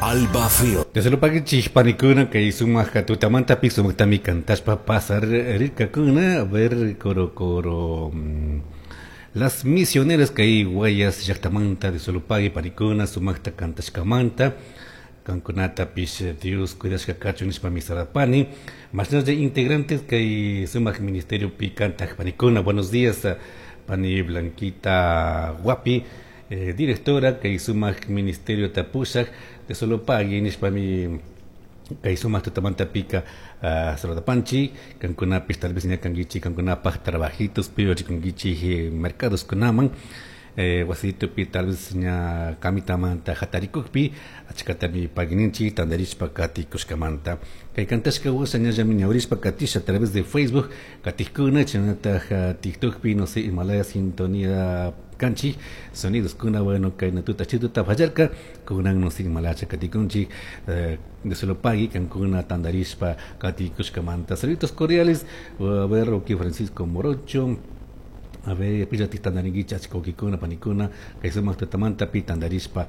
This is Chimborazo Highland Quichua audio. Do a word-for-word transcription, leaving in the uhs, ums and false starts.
Alba Fil. Desde lo paguichik panikuna kay sumaq tutamantapi sumaqtami kantashpa pasar rirkakuna a ver coro coro mm, las misioneras kay Guayas llaqtamanta de Solopagui panikuna sumaqta kantashkamanta kankunatapish Dios cuidashka kachun nishpa misarapani mashnalla integrantes kay sumaq ministerio pi kantaq panikuna. Buenos días, pani Blanquita Guapi, eh, directora kay sumaq ministerio tapushaq de Solopagui nishpami kay sumaq tutamantapika uh, saludapanchik. Kankunapish tal vez ña kankichik kankunapaj trabajitos pi rikunkichik mercados kunaman, eh, wasitupi tal vez ña kamitamanta hatarikukpi achkatami paguininchik tandarishpa katikushkamanta. Kay kantashka washa ñallami ñawrishpa katisha a través de Facebook katikuna, chaynataj TikTokpi, no sé, Himalaya sintonía kanchik sonidos kuna. Bueno, kay tuta chituta fallarka kunan no sé imalacha katikunchik eh, de Solopagui kankuna tandarishpa katikushkamanta. Saludos cordiales. A ver, aquí Francisco Morocho. A ver, pillati tandaringuicha achka wawkikuna panikuna kay sumaq tutamanta pi tandarishpa.